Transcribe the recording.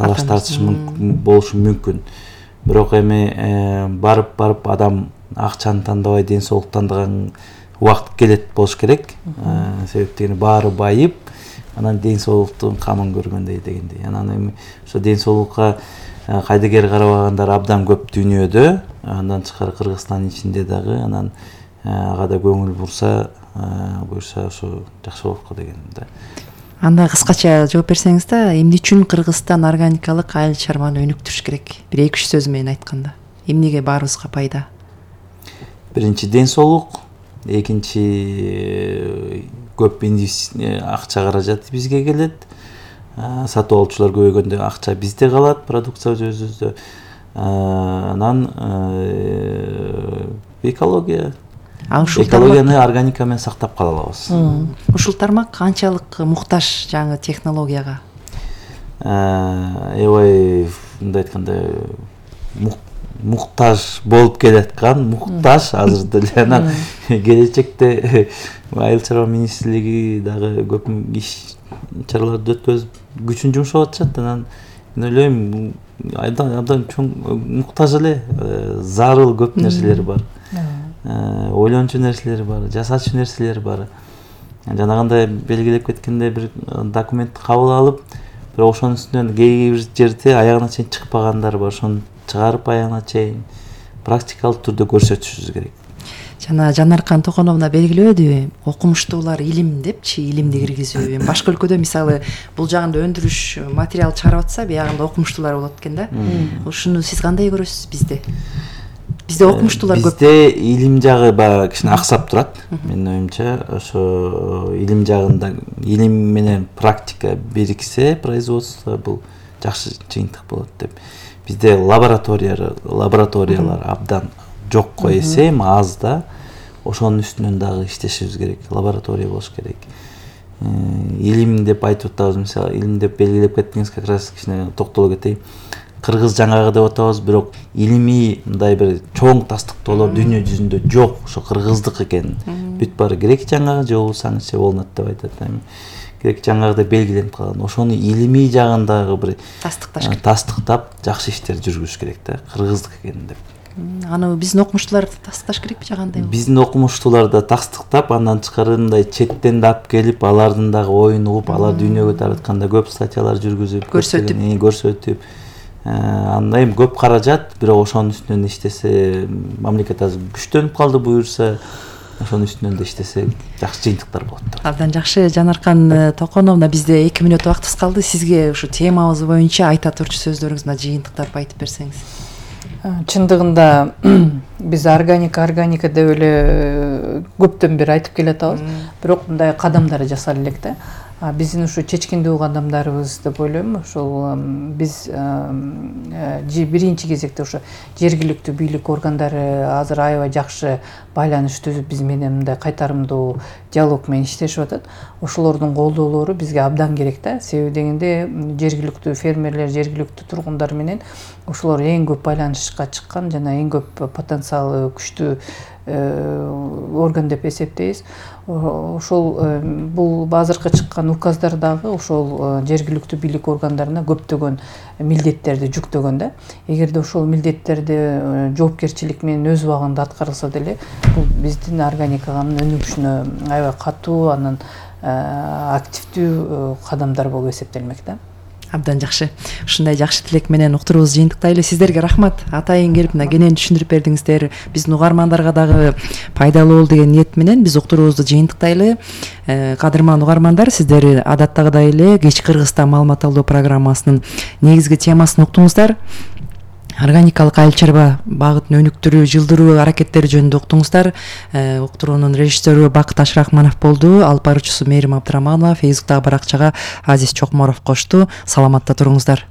талаш тартыш болушу мүмкүн. Бирок эми барып адам акчаны тандабай ден соолук тандаган убакыт келет болуш керек. Себептен баары байып, анан ден соолуктун камын көргөндөй дегендей. Анан эми ошо ден соолукка кайдыгер карабагандар абдан көп дүйнөдө, андан тышкары Кыргызстандын ичинде дагы, анан ага да көңүл буйрса ошо жакшы болот го деген да. Анда кыскача жооп берсеңиз да, эмне үчүн Кыргызстан органикалык айыл чарбаны өнүктүрүш керек? Бир 2-3 сөз менен айтканда. Эмнеге баарыбызга пайда? Биринчи ден соолук, экинчи көп акча каражат бизге келет. Сатып алуучулар көбөйгөндө акча бизде калат, продукция өзүбүздө. Анан экология. Экологияны органика менен сактап кала алабыз. Ушул тармак канчалык муктаж жаңы технологияга? Эбай мындай айтканда муктаж болуп келаткан, муктаж азыр деле. Анан келечекте айыл чарба министрлиги дагы көп иш чараларды өткөзүп күчүн жумшап атышат. Анан мен ойлойм, абдан чоң муктаж эле, зарыл көп нерселер бар. Ойлончу нерселер бар, жасачу нерселер бар. Жанагындай белгилеп кеткенде бир документти кабыл алып, бирок ошонун үстүнөн кээ бир жерде аягына чейин чыкпагандар бар. Ошону чыгарып аягына чейин практикалык түрдө көрсөтүшүбүз керек. Жана Жанаркан Токоновна белгилебедиби? Окумуштуулар илим депчи, илимди киргизүү. Башка өлкөдө мисалы бул жагында өндүрүш материал чыгарып атса, биягында окумуштуулар болот экен да. Ушуну сиз кандай көрөсүз бизде? Бизде окумуштуулар көп. Бизде илим жагы баягы кичине аксап турат. Менин оюмча, ошо илим жагында илим менен практика бириксе, производство бул жакшы жыйынтык болот деп. Бизде лабораториялар абдан жокко эсем аз да. Ошонун үстүнөн дагы иштешибиз керек. Лаборатория болуш керек. Илим деп айтып атабыз, мисалы, илим деп белгилеп кеттиңиз, как раз кичине токтоло кетейин. Кыргыз жаңгагы деп атабыз, бирок илимий мындай бир чоң тастыктоолор дүйнө жүзүндө жок. Ошо кыргыздык экен. Бүт баары грек жаңгагы же болсаңызчы болот деп айтат. Грек жаңгагы деп белгиленип калган. Ошону илимий жагындагы бир тастыктап жакшы иштер жүргүзүш керек да. Кыргыздык экен деп. Аны биздин окумуштуулар тастыкташ керекпи жагандай? Биздин окумуштуулар да тастыктап, андан тышкарындай четтен да алып келип, алардын дагы оюн угуп, алар дүйнөгө таратканда көп статьялар жүргүзүп, көрсөтүп. Андай көп каражат, бирок ошонун үстүнөн иштесе, мамлекет азыр күчтөнүп калды буюрса, ошонун үстүнөн да иштесе, жакшы жыйынтыктар болот. Абдан жакшы. Жанаркан Токоновна, бизде 2 мүнөт убактыбыз калды. Сизге ушу темабыз боюнча айта турчу сөздөрүңүздү жыйынтыктап айтып берсеңиз. Чындыгында биз органика деп эле көптөн бери айтып келатабыз, бирок мындай кадамдар жасала элек да. Биздин ушу чечкиндүү кадамдарыбыз деп ойлойм. Ошол биз биринчи кезекте ошо жергиликтүү бийлик органдары азыр аябай жакшы байланыш түзүп биз менен мындай кайтарымдуу диалог менен иштешип атат. Ошолордун колдоолору бизге абдан керек да. Себеби дегенде жергиликтүү фермерлер, жергиликтүү тургундар менен ошолор эң көп байланышка чыккан жана эң көп потенциалы күчтүү орган деп эсептейбиз. Ошол бул азыркы чыккан указдар дагы ошол жергиликтүү бийлик органдарына көптөгөн милдеттерди жүктөгөн да. Эгерде ошол милдеттерди жоопкерчилик менен өз убагында аткарылса деле, бул биздин органиканын өнүгүшүнө аябай катуу, анан активдүү кадамдар болуп эсептелмек да. Абдан жакшы. Ушундай жакшы тилек менен уктуруубузду жыйынтыктайлы. Сиздерге рахмат. Атайын келип мына кенен түшүндүрүп бердиңиздер. Биздин угармандарга дагы пайдалуу болду деген ниет менен биз уктуруубузду жыйынтыктайлы. Кадырман угармандар, сиздер адаттагыдай эле Кеч Кыргызстан маалымат алуу программасынын негизги темасын уктуңуздар. Органикалык айыл чарба багытын өнүктүрүү, жылдыруу аракеттери жөнүндө уктуңуздар. Уктуруунун режиссеру Бакыт Ашрахманов болду, алып баруучусу Мээрим Абдыраманова, Фейсбуктагы баракчага Азиз Чокморов кошту. Саламатта туруңуздар.